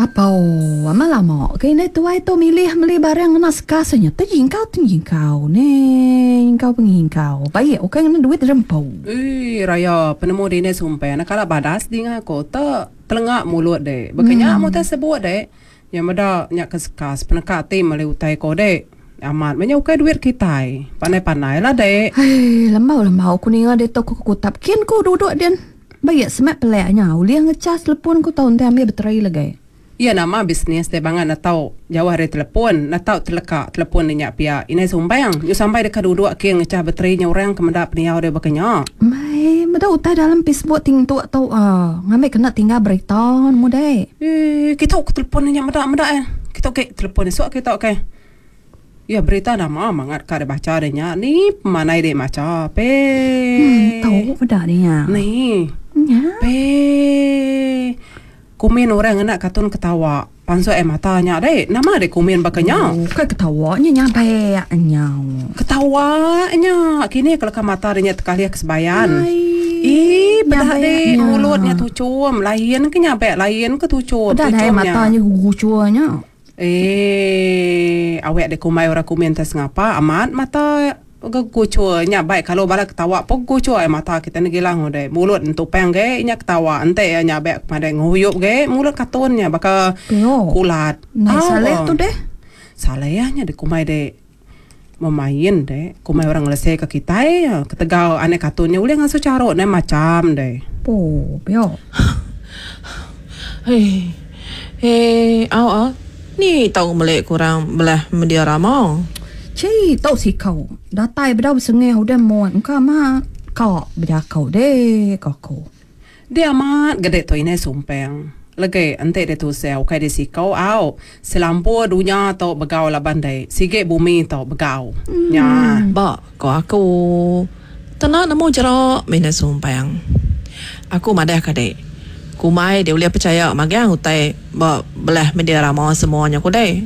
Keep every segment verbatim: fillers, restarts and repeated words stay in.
Apa amat lama ke ini tuai tu milih beli barang ngena sekasnya. Terjingkau terjingkau ni, jingkau pengingkau. Baik, okey ngena duit rempu. Eh, raya penemu dini sumpah nak kala badas dinga ko te telengak mulut dek. Bekenya hmm. mu sebut dek. Ya meda nyak ke sekas peneka ti meli utai ko dek. Amat banyak ukai duit kita. Pandai-pandai lah dek. Hei, lembau-lembau ku ninga dia tu ku kutap kin ku duduk den. Baik semat pelaknya. Uliah ngecas telepon ku tahu nanti ambil bateri lagi. Ya nama bisnes dek bangat nak tahu jauh hari telepon, nak tahu telekak telepon ni nyak pia. Ini sumbang, you sampai dekat duduk kin ngecas bateri nya orang kemendak peniau dia bekenya. Mai, meda utai dalam Facebook ting tu atau ah, ngambil kena tinggal berita mu dek. Eh, kita ke telefon ni nyak medak medak eh. Kita ke telefon esok kita ke. Ya berita nama mangat ka baca dia nya. Ni pemanai dia maca. Pe. Hmm, tahu medak dia. Ni. Nya. Pe. Kumin orang nak katun ketawa. Pansu air mata nya dek. Nama dek kumin bakanya. Oh, kai ketawa nya nyampe nya. Ketawa nya. Kini kalau ka mata dia tekali ke sebayan. Ih, bedah dek mulutnya tucum, lain ke nyampe lain ke tucum. Bedah dek matanya gugucuanya. Eh, awek dek kumai orang kumin tes ngapa? Amat mata gugucua nya baik kalau bala ketawa pok gucua air mata kita ni gilang dek. Mulut tupeng ge nya ketawa ente ya nya baik pada nguyup ge mulut katunnya baka kulat. Nah, saleh tu deh. Salehnya dek kumai dek memain dek. Kumai orang ngeleseh ke kita ya. Ketegal aneh katunnya boleh ngasuh carok ne macam dek. Po, bio. Hei. Hei, au ah. Ni tau melek kurang belah media ramau. Cik, tau si kau. Datai bedau sengih udah muat engkau mah. Kau berjakau deh, kau. Dia amat gede tu ini sumpeng. Lagi ente dia tu sel kai dia si kau au. Selampur dunia tau begau lah bandai. Sige bumi tau begau. Hmm. Ya. Ba, kau aku tenang nemu jerak mina sumpeng. Aku madah kadek. Kumai dia boleh percaya magang utai ba belah media ramah semuanya ku deh.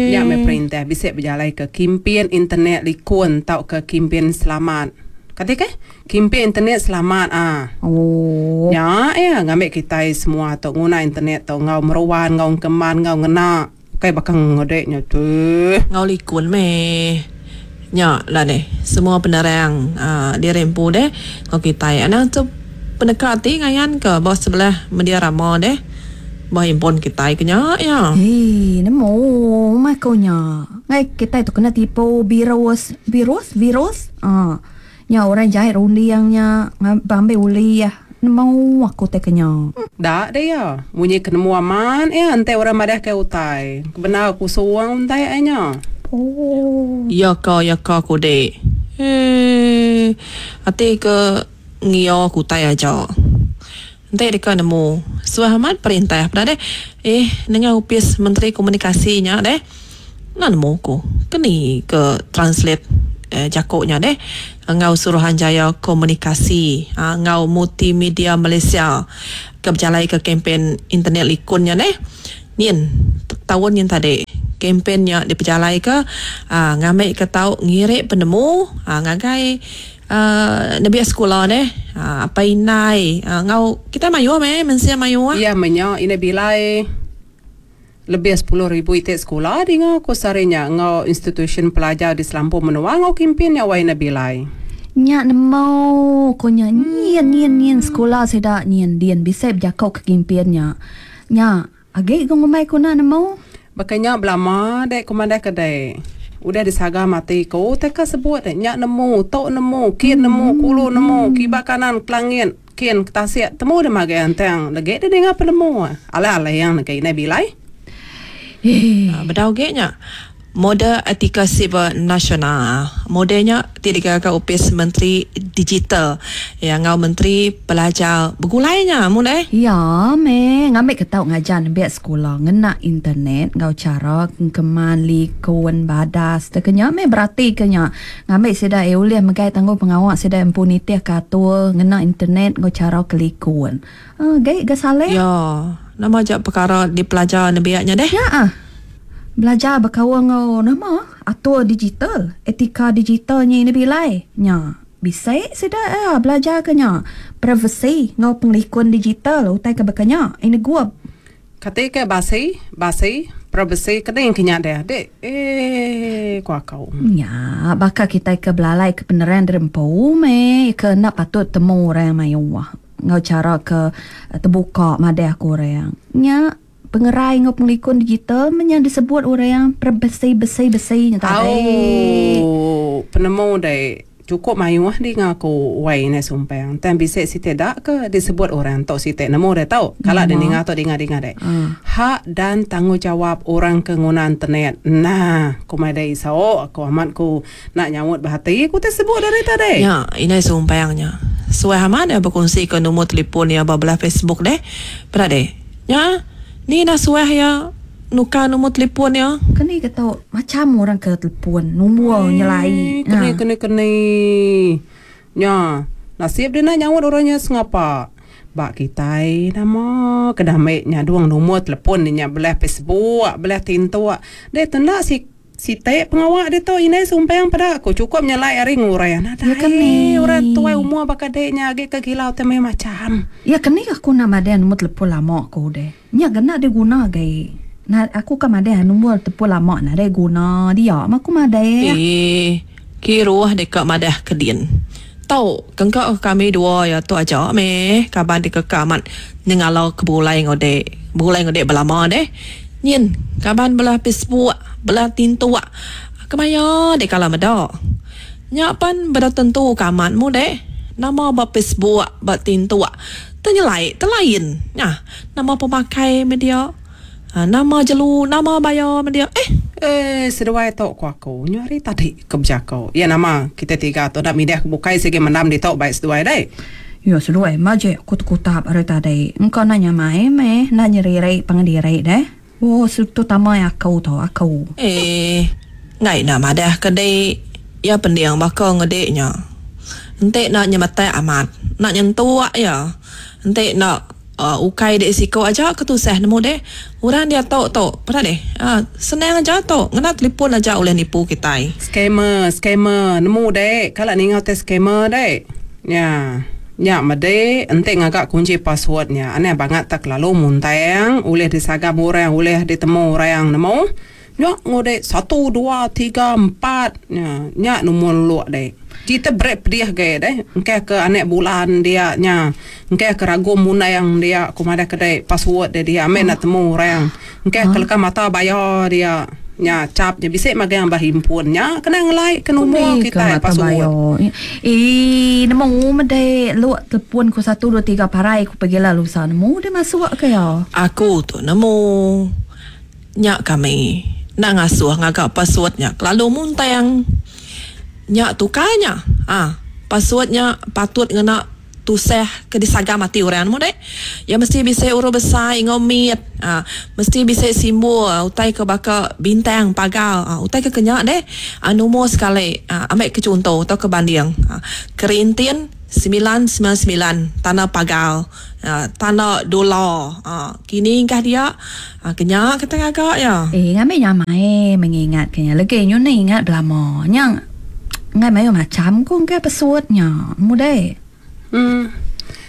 Ya me perintah bisa berjalan ke kimpin internet likun tau ke kimpin selamat. Kata ke? Kimpin internet selamat ah. Oh. Ya ya ngambil kita semua tau guna internet tau ngau meruan ngau keman ngau ngena. Kai bakang ngodeknya tu. Ngau likun me. Nya lah deh. Semua penerang uh, dirempu deh ngau kita anang tu peneka ti ngayan ke bos sebelah media ramah deh. Bah impon kita kenya ya. Hei, nemu makonya. Ngai kita tu kena tipu virus, virus, virus. Ah. Nya orang jahit rundiangnya ngambil uli ya. Nemu aku te kenya. Dak deh ya. Bunyi kenemu aman ya ente orang madah ke utai. Benar aku suang untai nya. Oh. Ya ka ya ka ku dek. Eh, ati ke ngio ku tai aja. Ente deka nemu. Suah amat perintah pada deh. Eh, dengan upis Menteri Komunikasinya deh. Nah nemu ku. Keni ke translate eh, jakoknya deh. Ngau Suruhanjaya Komunikasi, ha, ngau Multimedia Malaysia ke berjalai ke kempen internet likunnya deh. Nien tahun yang tadi kempennya diperjalai ke ha, ngambil ke tau ngirik penemu ha, ngagai Uh, nebi sekolah deh uh, apa inai uh, ngau kita mayu me mensia mayu ah ya menya ini bilai lebih sepuluh ribu itik sekolah di ngau kusarinya ngau institution pelajar di Selampur menua ngau kimpin ya wai nabilai nya nemu konya nien nien nien sekolah seda nien dien bisa berjakau ke kimpinnya nya age gong ngomai ko na nemu bakanya belama dek komanda kedai udah disaga mati ko teka sebut dek nyak nemu tok nemu kin nemu kulu nemu kiba kanan kelangit kin tasik temu de magai antang legi de dengar penemu ala ala yang ngai nabilai eh bedau ge nya Model Etika Siber Nasional. Modelnya tidak ke Upis Menteri Digital yang ngau Menteri Pelajar bergulainya mun eh. Ya me ngambil ketau ngajar nembiak sekolah ngena internet ngau cara keman likun badas tekenya me berarti kenya ngambil seda e ulih megai tanggung pengawak seda empu nitih katur ngena internet ngau cara kelikun. Ah uh, gai ga saleh. Ya, nama jak perkara dipelajar nembiaknya deh. Ya ah. Belajar berkawan ngau nama atur digital, etika digitalnya ini bilai. Nya, bisa sudah eh, belajar ke nya. Privacy ngau pengelikun digital utai ke bekanya. Ini gua. Ketika basi, basi, privacy kening kenya deh. Dek, eh, ku aku. Ya, bakal kita ke belalai ke penerang derempu me ke nak patut temu orang mayuh. Ngau cara ke terbuka madai aku orang. Nya pengerai ngau pengelikun digital menyang disebut orang perbesi besi besi nya tadi. Oh, penemu dek cukup mayuh di ngaku wai ne sumpang. Tan bisik siti dak ke disebut orang tok siti nemu dek tau. Kalau dia ninga tok dinga dinga dek. Hmm. Hak dan tanggungjawab orang ke nguna internet. Nah, ku madai iso aku amat ku nak nyawut berhati ku tersebut dari tadi. Ya, ini sumpangnya. Suai amat dia berkongsi ke nombor telefon ya belah Facebook deh. Pada deh. Ya, ni dah suai ya nukar nombor telefon ya. Keni kata macam orang ke telefon nombor nyelai. Keni keni keni. Nya, nasib dia nak nyawut orangnya sengapa. Bak kitai nama kedamai nya duang nombor telefon ni nya belah Facebook, belah tintu. Dia tenda si si tek pengawak dia tu ini sumpang pada aku cukup nyelai hari ngurai. Nah, Ya, keni. Orang tua umur bakal deknya agi ke gilau temai macam. Ya keni aku nama dia nombor telefon lama aku deh. Nya kena dia guna gai. Nah, aku kan ada nombor telefon lama nak dia guna dia. Mak aku madai. Eh, kiruh dekat madah kedin. Tau, kengkak kami dua ya tu aja me kaban di kekamat nyengalau ke bulai ngode. Bulai ngode belama deh. Nyin, kaban belah Facebook, belah tintu. Kemaya dek kala medak. Nyak pan beda tentu kamat mu deh. Nama ba Facebook, ba tintu. Ternyelai, terlain. Nah, nama pemakai media. Ha, nama jelu, nama bayar media. Eh, Eh, seduai tok ku aku nyari tadi ke berjako. Ya nama kita tiga tu nak midah bukai segi mendam di tok baik seduai dai. Ya seduai maje aku kutap hari tadi. Engkau nanya mai me, nak nyeri pangdiri deh. Oh, tu tamai aku tu aku. Eh, ngai nak madah ke dek. Ya pendiang bakal ngedeknya. Entek nak nyematai amat, nak nyentuh ya. Entek nak Uh, ukai dek siko aja ketusah nemu deh. Orang dia tok tok, pada deh. Ah, senang aja tok, ngena telefon aja oleh nipu kita. Scammer, scammer, nemu dek. Kalau ningau tes scammer dek. Ya. Ya, made entek ngagak kunci passwordnya. Aneh banget tak lalu muntang, oleh disagam orang, oleh ditemu orang nemu. Ya, ngode satu, dua, tiga, empat. Ya, nya nombor luak dek. Kita break dia ge deh. Engke ke anek bulan dia nya. Engke ke ragu munayang dia ku madah kedai password dia dia amek nak temu orang. Engke ke lekam mata bayar dia. Nya cap nya bisik magang berhimpun nya kena ngelai ke nombor kita password. Eh, nemu mede luak telefon ku satu dua tiga parai ku pergi lalu lusa nemu dia masuk ke ya. Aku tu nemu. Nya kami nak ngasuh ngagak passwordnya lalu muntang. Nyak tukarnya. Ah, passwordnya patut ngena tusah ke disagam mati orang mu dek. Ya mesti bisa urut besar ngomit. Ah, mesti bisa simbol utai ke baka bintang pagal. Ah, utai ke kenyak dek. Ah, nombor sekali. Ah, ambil ke contoh atau ke banding. Ah, Kerintian sembilan sembilan sembilan tanah pagal. Ah, tanah dolar. Ah, kini kah dia? Ah, kenyak kita agak ya. Eh, ngambil nyamai mengingat kenya. Lagi nyu ni ingat belama. Nyang ngai mayu macam ku ke passwordnya. Mu deh. Hmm.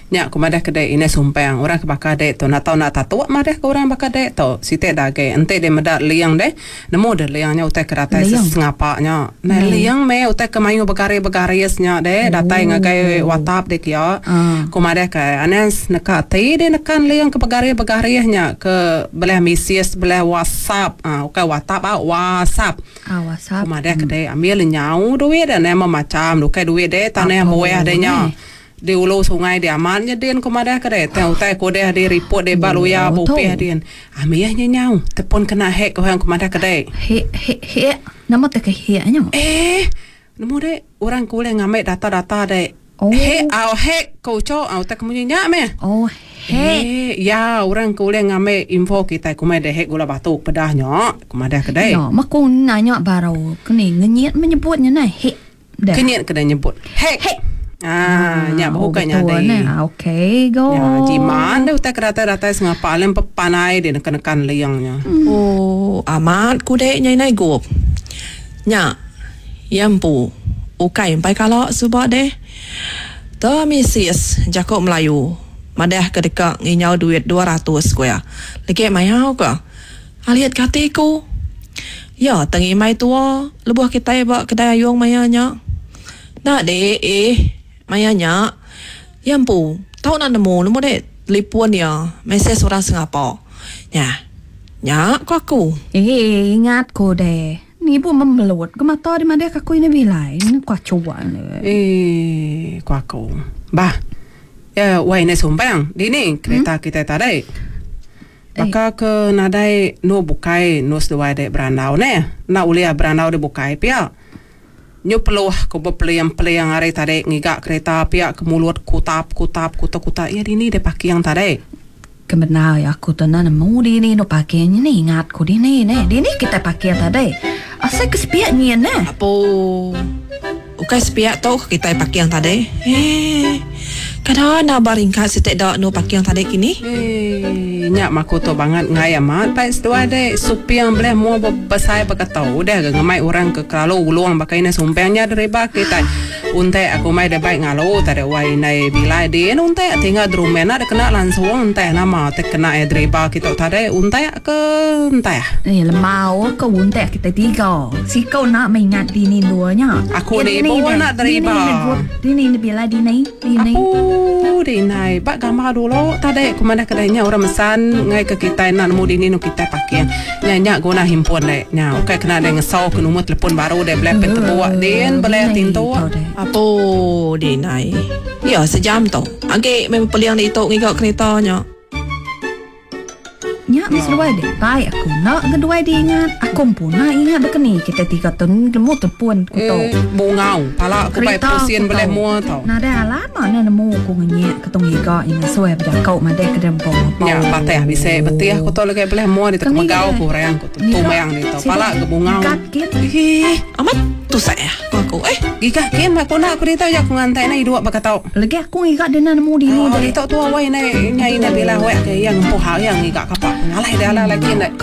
Nyak ku madah kedai ini sumpang orang ke bakar dek tu nak tahu nak tahu madah ke orang bakar dek tu sitek dage ente dia medak liang deh nemu deh liangnya utai ke datai sengapaknya nah liang me utai ke mayu begari-begarisnya deh datai ngagai WhatsApp dek ya ku madah ke anes neka ti dia nekan liang ke begari-begarisnya ke belah misis belah WhatsApp ah ukai WhatsApp ah WhatsApp ah WhatsApp ku madah kedai ambil nyau duit dah nama macam dukai duit deh tanah buah deh nya di ulu sungai di amannya din ku madah ke deh tau tai ku deh di report di baluya bupih din amiah nya nyau tepon kena hack orang ku madah ke deh he he he nama te ke he nya eh nemu deh orang ku le ngambil data-data deh he au hack ku cho au tak munyi nya me oh he ya orang ku le ngambil info kita ku mai deh hack gula batu pedahnya ku madah ke deh ya mak ku nanya baru keni ngenyit menyebutnya nah he dah kenyit kena nyebut hack hack Ah, nya bukannya ada. Okey, go. Ya, jiman dah utai kerata-rata sengapa lem pepanai dia nekan-nekan liangnya. Hmm. Oh, amat ku dek nyai nai gop. Nya, yampu. Ukai empai kalau subak deh. Temisis Jakop Melayu. Madah ke deka nginyau duit dua ratus ku iya. Legi mayau ka. Aliat ke ati ku. Ya tang imai tua lebuh kitai ba kedai ayung maya nya. Enda dek eh maya nya. Ya empu tau nak nemu nemu dek telefon iya mesej orang sengapa. Nya. Nya ku aku. Eh ingat ku deh. Ni ibu memelut ke mata di madah ke aku ini bilai. Ni ku acuan ni. Eh ku aku. Bah. Ya wai ni sumpang. Dini kereta hmm? Kita tadi. Baka ke nadai nu bukai nu seduai dek berandau ne. Nak uliah berandau di bukai pia. Nyu peluh ku bepeliang-peliang hari tadi ngiga kereta pia ke mulut kutap kutap kutak kutak. Ya dini de parking tadi. Kebenar ya aku tu nak nemu dini nu parking ni ingat ku dini ne. Dini kita parking tadi. Asal ke sepiak ni ne. Apo. Ukai sepiak tu kita parking tadi. Eh. Kada nak baringkat sitik dak nu parking tadi kini. Eh, nyak maku tu banget ngai amat pai seduai dek supiang boleh mua besai berkata udah ge ngemai orang ke kelalu uluang pakai ni sumpangnya deriba kita. Untek aku mai de baik ngalu tadi wai nai bilai dia untek tinggal drumen ada kena langsung untek nama te kena e deriba kita tadi untek ke untek. Eh lemau ke untek kita tiga. Sikau nak mengingat dini duanya. Aku ni pun nak deriba. Dini ni bilai dini dini. Aku dini bak gambar dulu tadi aku mana kedainya orang mesan ngai ke kita nak nemu dini nu kita pakai. Nya nya guna himpun dek. Nya okey kena ada ngesau ke nombor telefon baru dek boleh pentebuak din boleh tintu. Apo dinai. Ya sejam tu. Age memang peliang di itu ngigak keretanya. Nyak mesti dua dek. Baik aku nak kedua dia ingat. Aku pun nak ingat berkeni kita tiga tahun nemu telefon ku tu. Eh, bungau pala aku baik pusing boleh mua tau. Nah dah lama nak nemu aku ngenyek ketong iga yang sesuai berjakau madai ke dalam bawah. Nyak patah bisa betih aku tu lagi boleh mua di tekong megau ku orang ku tu tumang ni tau. Pala ke bungau. Eh, amat tu saya aku aku eh gigah kin aku nak aku dia tahu aku ngantai na hidup bakal tau. Lagi aku iga dia nak nemu di ni. Oh, dia tahu tu awai na nyai na bila awak ke yang empuh yang iga kapak. Ngalah dah lah lagi nak.